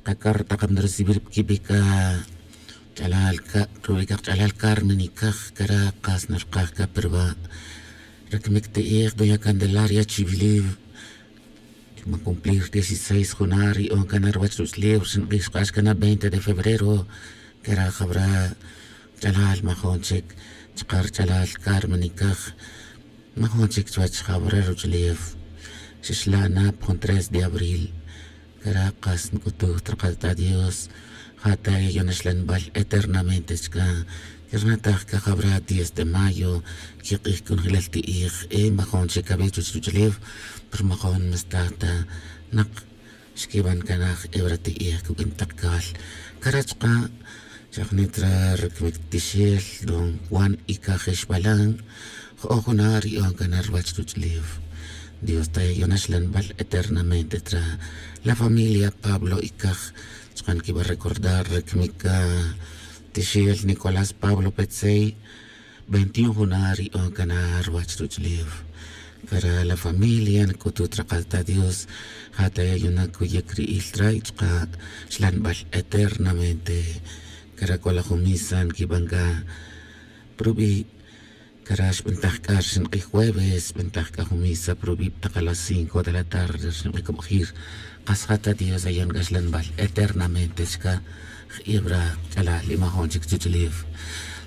Chqa taqam de recibir kib'ika ch'alal ka rub'ika ch'alal Carmen Ikaj kara qas narqaj ka perba rakmik ti'ij doña Candelaria Chivilib ma cumplir 16 juna ri'on kana ruwach ruch'lew xinq'ij xq'ax kana 20 de febrero kara jabra ch'alal majon chik chqa rch'alal Carmen Ikaj majon chik chuwach jabra ruch'lew xixlana pjun 3 de abril kara qas nk'utuj traqalta Dios jata yonaxlanb'al eternamente chka kirnataj ka jabra 10 de mayo kiq'ij kunjilal ti'ij e majon chik kab'e chuwach ruch'lew per majon mestata naq xkib'an kanaj ebra ti'ij kuk'in taq kal kara chqa xajnitra rikmik tixel don Juan Ikaj Ixbalan jo'oj juna ri'on kanar ruwach ruch'lew Dios ta yonaxlanb'al eternamente tra la familia Pablo Ikaj chqan kib'a recordar rikmik tixel Nicolás Pablo Petzey 21 juna ri'on kanar ruwach ruch'lew kara la familia nk'utut raqalta Dios jata yona kuyek ri'il tra y chqa xlanb'al eternamente kara kola jumisa nkib'anka prub'i kara xb'antaj k'ax xinq'ij jueves b'antaj k'a jumisa prub'i taq a las 5 de la tarde xinq'ij kab'ajir qas jata Dios ayon k'axlanb'al eternamente chka ibra ch'alal imajon chik chuch'lew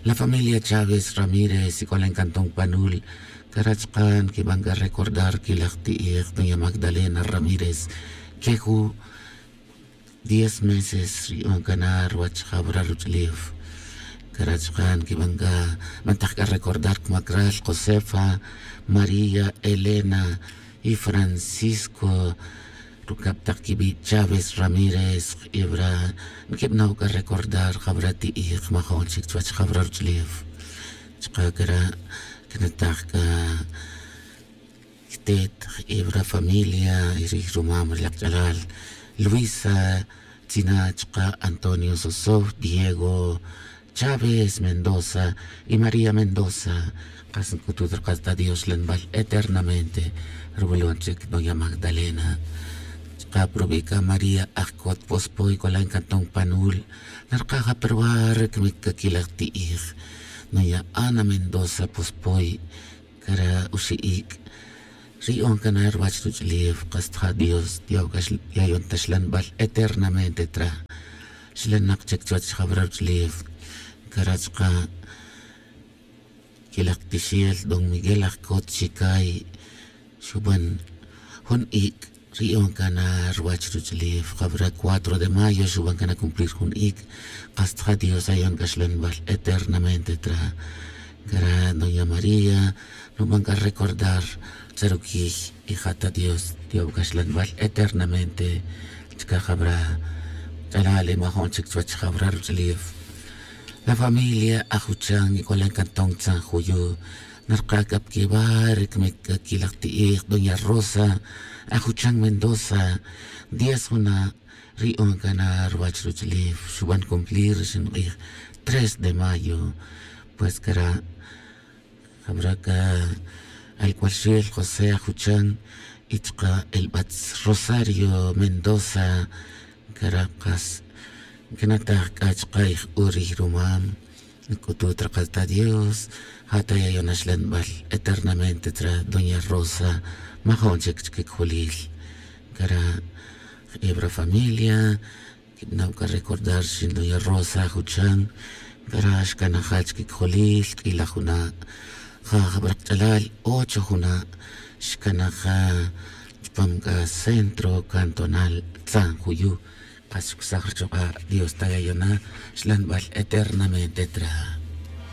la familia Chávez Ramírez y en Cantón Panul Karachqan kib'anka recordar kilaj ti'ij doña Magdalena Ramírez keju 10 meses ri'on kanar ruwach jabra ruch'lew Karachqan kib'anka mantaj k'a recordar kmakral Josefa María Elena y Francisco rukab' taq kib'i' Chávez Ramírez ibra nkib'naw k'a recordar jabra ti'ij majon chik chuwach jabra ruch'lew chqa kara kinataj k'a ktet ibra familia y ri rumam ri laq ch'alal Luisa Chinachqa Antonio Sosov Diego Chávez Mendoza y María Mendoza qas nk'utut rqasta Dios lanb'al eternamente rub'ulon chik doña Magdalena chqa prub'ika María Ajkot Pospoy kolan Cantón Panul narqaja perwa rikmik kakilaj ti'ij doña Ana Mendoza Pospoy kara uxi'ik ri'on kanar ruwach ruch'lew qastja Dios yayon taxlanb'al eternamente tra xlanaq chik chuwach jabra ruch'lew kara chqa kilaj tixel don Miguel Ajkot Xikay xub'an jun ik' ri'on kana ruwach ruch'lew jabra 4 de mayo xub'an kana cumplir jun ik' qastja Dios ayon k'axlanb'al eternamente tra kara doña María nub'an k'a recordar tzarukij y jata Dios tiob k'axlanb'al eternamente chka jabra ch'alal imajon chik chuwach jabra ruch'lew la familia Ajuchan y kolan Cantón San Juyo narqa kapkibar rikmik kilaj ti'ij doña Rosa Ajuchan Mendoza 10 juna ri'on kana ruwach ruch'lew xub'an cumplir xinq'ij 3 de mayo pues kara habrá ka al cual José Ajuchan y chqa el Batz Rosario Mendoza Caracas kinataj k'ach q'ayj urij rumam nk'utut raqalta Dios jata yayonaxlanb'al eternamente tra doña Rosa majon chik chkikjulil kara ibra familia kib'naw ka recordar xin doña Rosa Ajuchan kara xkanajal chkikjulil k'ilaj juna ja jab'raq ch'alal 8 juna xkanaja chpam k'a centro cantonal San Juyu qas xkusaj richoq'a Dios tayayona xlanb'al eternamente tra.